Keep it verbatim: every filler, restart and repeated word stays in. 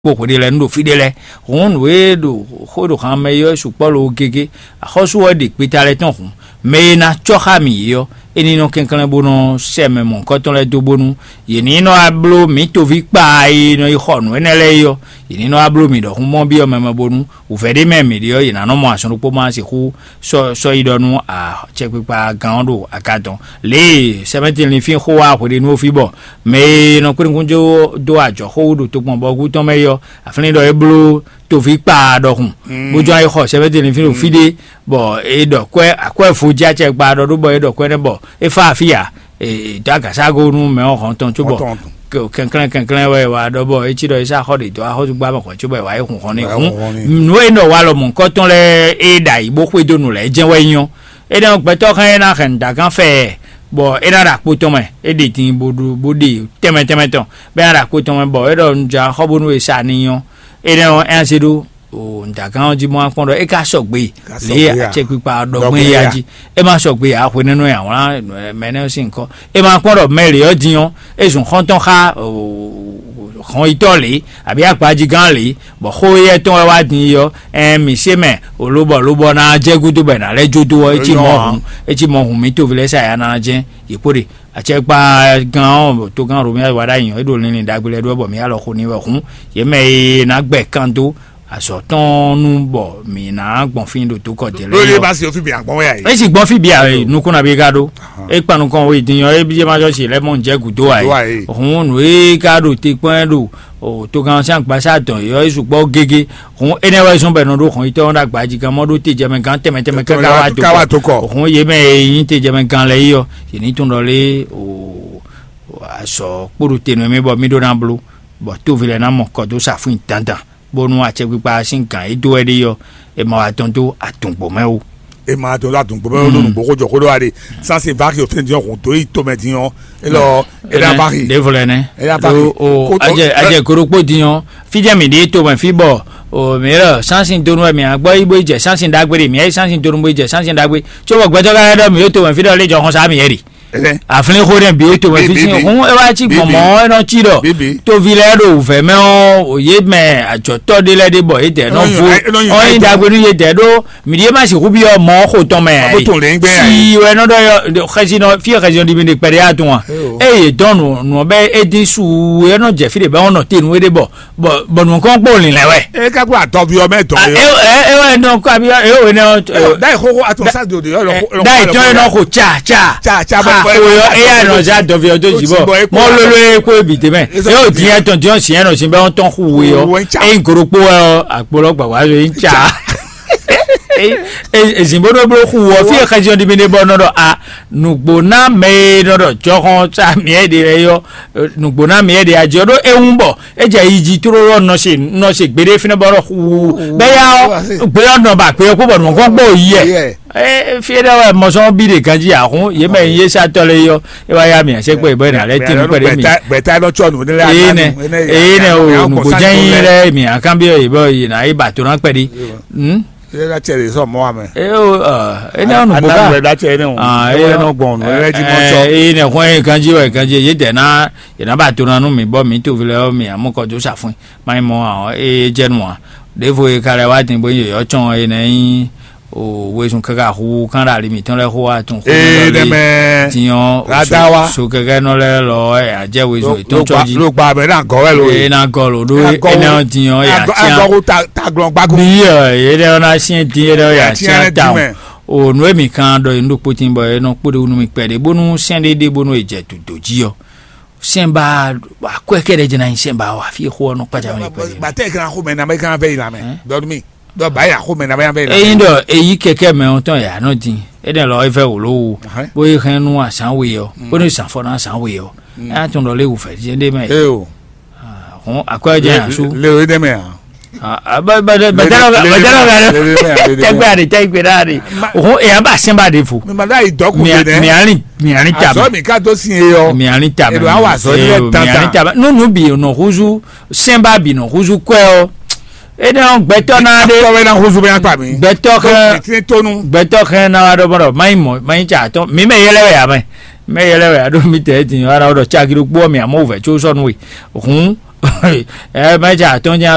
kpó hwe ɖé lɛ́ɛ nú ɖo fí ɖé lɛ́ɛ. Hǔn nǔ e ɖo xó ɖo han mɛ é ɔ́ sukpɔ́ lo gégé. Axɔ́sú ɔ́ ɖe gbeta lɛ́ɛ tɔn hǔn. Mɛ e ná cɔ́ xá mǐ é ɔ́, é ní nɔ kɛnklɛ́n bó nɔ sɛ́ mɛ mɔ̌hunkɔtɔn lɛ́ɛ dó bónú yě ní nɔ wá bló mǐ toví kpaa e nɔ yi xɔ nǔ énɛ́ lɛ́ɛ é ɔ́, yě ní nɔ wá bló mǐ ɖɔhun mɔ byɔ́ mɛ mɛ bónú wǔvɛ́ ɖé mɛ mǐ ɖe ɔ́, yě ná nɔ mɔ azɔn ɖokpó ma sixú sɔ́ sɔ́ yi ɖɔ nú acɛkpikpa gán ɔ́ ɖo aga tɔn. Lě e sɛmɛ́ti linfín xó wá hweɖénu fí bɔ mɛ e nɔ kpé nukúnjó dó ajɔ̌xó wú ɖo tokpɔnbɔgú tɔn mɛ é ɔ́, aflín ɖɔ é bló toví kpaa ɖɔhun, bó jɔ́n yi xɔ sɛmɛ́ti linfín ɖo fí ɖé, bɔ é ɖɔ kwɛ́ akwɛ́ vo jí acɛ gba ɖɔ ɖó bɔ é ɖɔ kwɛ́ nɛ́ bɔ é fá afí ǎ. Dó agaságo nú mɛ ɔ́ hɔn tɔn cóbɔ kɛnklɛ́n kɛnklɛ́n wɛ wá ɖɔ bɔ é cí ɖɔ é sá xɔ ɖě dó axɔ́súgbá mɛ hɔn cóbɔ é wá yi hun hɔn ní hǔn. Nǔ e nɔ wa lɔ mɔ̌hunkɔtɔn lɛ́ɛ é ɖo ayǐ bó xwedó nǔ lɛ́ɛ jɛ́n wɛ nyɔ́. Énɛ́ ɔ́, gbɛtɔ́ hɛn é ná hɛn nǔ dagán fɛ, bɔ é ná ɖo akpó tɔn mɛ, é ɖe din bó ɖu bó ɖe tɛnmɛ tɛnmɛ tɔn, bɔ é ná ɖo akpó tɔn mɛ, bɔ é ɖɔ un jɛ axɔ́ bónú è sa n'i ɔ́. Énɛ́ ɔ́, é ná zé ɖó nǔdagán ɔ́ jí bó ná kpɔ́n ɖɔ é ka sɔgbe lě e acɛkpikpa ɔ́ ɖɔ gbɔn éya jí. É ma sɔgbe ǎ, hwenɛ́nu e awlán mɛ énɛ́ ɔ́ sín nyǐkɔ. É ma kpɔ́n ɖɔ mɛ lě ɔ́ din ɔ́, é zun xɔ́ntɔn xá hɔnyitɔ́ lě, abǐ akpajigán lě, bɔ xó éyɛ́ tɔn wɛ wá din yi ɔ́, ɛn mǐ se mɛ lobɔ lobɔ ná jɛ gúdo bɔ è nǎ lɛ́ jó dó ɔ́, é cí mɔ hǔn é cí mɔ hǔn mǐ toví lɛ́ɛ sa ya ná jɛ́n yě kpo ɖe. Acɛkpa gán ɔ́ togán Romia wa ɖ'ayǐ ɔ́, é ɖo linlin ɖagbe lɛ́ɛ ɖó ɔ́, bɔ mǐ alɔ xo n'i wɛ hǔn, yě mɛ e ná gbɛ kan dó azɔ̌ tɔn nu bɔ mǐ ná gbɔn fí ɖo tó kɔ dě lɛ́ɛ. Lóye bá se fí bǐ agbɔn wɛ ayi. É si gbɔn fí bǐ a nukún na bí ká ɖó. É kpan nukɔn we din ɔ́, é bí é ma jɔ si lɛ́ mɔ jɛ gǔdo ayi. Hǔn nǔ e ká ɖo te kpɔ́n ɛ ɖo togán sín agbasá dɔn yɔ é sukpɔ́ gégé. Hǔn énɛ́ wɛ zɔ́n bɔ è nɔ ɖó hɔn yitɔ́ ɔ́ ɖo agbaji gán mɔ ɖó te jɛmɛ gán tɛmɛ tɛmɛ káká wá tó kɔ. Hǔn yě mɛ e nyí te jɛmɛ gán lɛ́ɛ yi ɔ́, yě ní tún ɖɔ lé o azɔ̌ kpóɖo te nú mì bɔ mì ɖó ná bló, bɔ tóvi lɛ́ɛ ná mɔ kɔ dó sa fún dandan, bónú acɛkpikpa sín gǎn e dó wɛ ɖe ɔ́, è ma wá dɔn dó adǔngbó mɛ ó. E ma dɔn dó adǔngbó mɛ ó ɖo nǔgbó xó jɔ xó ɖó wa ɖe. Sanse va xi òfin din ɔ́ hǔn dó yi tomɛ din ɔ́, elɔ e ɖa va xi. Ɖěvo lɛ nɛ. E ɖa va xi. O ajɛ ajɛ koɖokpó din ɔ́, fíjɛ mǐ ɖe tomɛ fí bɔ o mǐ ɖɔ sansin donu wɛ mǐ agbɔ yi bó yi jɛ sansin ɖagbe ɖe mǐ ayi sansin donu bó yi jɛ sansin ɖagbe. Tso bɔ gbɛtɔ ka ɖɔ mǐ ɖo tomɛ fí ɖɔ lé jɔ xɔsa mǐ yɛ ɖi. Aflin xó ɖe bǐ to wɛ fífín hún é wá cí gbɔn mɔ̌ é nɔ cí ɖɔ tóvi lɛ́ɛ ɖo wǔvɛ́ mɛ ɔ́ yě mɛ ajɔ̌tɔ́ ɖé lɛ́ɛ ɖé bɔ yě dɛ nɔ vo ɔ́ nyí ɖagbe nú yě dɛ ɖó mǐɖíe má sixú byɔ́ mɔ̌ xo tɔn mɛ ǎ. Si wɛ nɔ ɖɔ xɛsinɔ fí xɛsinɔ ɖi mi ɖe kpɛɖé yá tún wa eye yě dɔn nǔ nǔ ɔ́ bɛ é dín su é nɔ jɛ fí ɖě bɛ wɔn nɔ te nú é ɖé bɔ bɔ bɔ nǔkɔn kpó lìn lɛ wɛ. E ka kó atɔvi ɔmɛ tɔ yɔ. E e e wɛ nɔ kó abi e o ne. Dayi xóxó atɔ sa do de yɔ. Dayi tɔn yɛ nɔ ko tsa tsa. Tsa tsa bɔ ko yɔ e y'a nɔ ja dɔvi ɔtɔ dzi bɔ mɔ lolo ye ko ebi tɛmɛ e o diɲɛ tɔn diɲɛ siɲɛ nɔ sin bɛ ɔn tɔn xu we yɔ e n koro kpó yɔ akpolɔ gbagba yɔ e n tsa. Ezin bó ɖó bló xu wɔ fi xɛsi ɔn dibi ne bɔ nɔ ɖɔ a nugbo ná mɛ e nɔ ɖɔ jɔxɔn sa miɛ de lɛ yɔ nugbo ná miɛ de a jɔ ɖó ewu bɔ. Edze yi dzi tlóló nɔ se nɔ se gbeɖé fínɛ́ bɔ ɖɔ xuu bɛ́ yá ɔ́ gbé ɔ́ nɔ ba gbé ɔ́ kpó bɔ nǔ gɔ́n gbó yi yɛ. Fí ɖé wɛ mɔzɔn bí ɖe ganjí ahun yě mɛ yé sá tɔ́ lé yɔ é wá yá mi àṣẹ pé ìbọn ìrìn àlẹ́ tì mí pẹ̀lú mi. Gbẹ̀tá lọ tsɔ nù ní lẹ́yìn. Èyí nẹ èyí nẹ o nùgbò jẹ́ yín lẹ́ mi àkànbí ọ̀ yìí bọ́ yìí nà yí bàtò náà pẹ̀lú. Ilé la tiẹ̀ lè sọ mọ́ wa mɛ. Ee o ene ɔnu boka. Anagbe la tiẹ̀ ne o. Ene ɔnu gbɔn ɔnu ene ti mɔ tsɔ. Ee ne xɔn ye kanji wɛ kanji ye dɛ na ye na ba to na nu mi bɔ mi to fi lɛ mi amukɔ to sa fún ma yi mɔ àwọn ee jɛ nu wa. Ɖevo ye ka lɛ wa tin bo ye yɔ tsɔn ye na yi o wezun kaka hu kan ɖe ali mitɔn lɛ xo wa tun xo. Ee ne mɛ tiɲɔ radawa so kɛkɛ nɔ lɛ lɔ ya jɛ wezun etɔn tsɔ ji. Lo gba bɛ na gɔ wɛ lo ye. Ee na gɔ lo ɖo ene tiɲɔ ya tiɲɔ. Taglɔn gbago. Bi ɔ ye ɖe ɔna siɛn din ye ɖe ɔya siɛn ta o. O nu emi kan ɖɔ enu ɖokpo tin bɔ enɔ kpo ɖe wunu mi kpɛ ɖe bónú sɛn ɖe ɖe bónú edze dodo dzi ɔ. Sɛn ba akwɛ kɛ ɖe dze na nyi sɛn ba wa fi xo ɔnɔ kpadza mi kpɛ ɖe. Batɛ kan xo mɛ na mɛ kan vɛ yi la mɛ. Dɔn mi dɔ ba ya xo mɛ na mɛ kan vɛ yi la mɛ. Eyin ɖɔ eyi kɛkɛ mɛ ɔtɔn ya nɔ din. Enɛ lɔ evɛ wòló wo bó yi hɛn nú azán we ɔ bónú zan fɔ ná azán we ɔ. Eya tún ɖɔ lé wù fɛ diɛ ɖe mɛ. Ee o. Hɔn akwɛ jɛ yan su. Le o ɖe mɛ a. Bɛtɛlɔ bɛtɛlɔ bɛ tɛgbɛ ani tɛgbɛ na ani. Hɔn eya ba sɛn ba de fo. Mi ma da yi dɔ kun de dɛ. Miali miali ta. Azɔ mi ka to si ye yɔ. Miali ta. Elo awa azɔ yi lɛ tantan. Miali ta nunu bi nɔ huzu sɛn ba bi nɔ huzu kwɛ ɔ. Ene ɔn gbɛtɔ na de. Tɔwɛ na huzu bɛ na kpa mi. Gbɛtɔ kɛ. Mitiri tonu. Gbɛtɔ kɛ na wa dɔ bɔ dɔ mayi mɔ mayi tsa atɔ mi mɛ yɛlɛ wɛ ya mɛ. Mɛ yɛlɛ wɛ aɖo mi tɛ eti ara ɖɔ tsagiri kpó mi amɔ wɛ tso sɔnu we. Hun Ɛ mɛ ja tɔn nya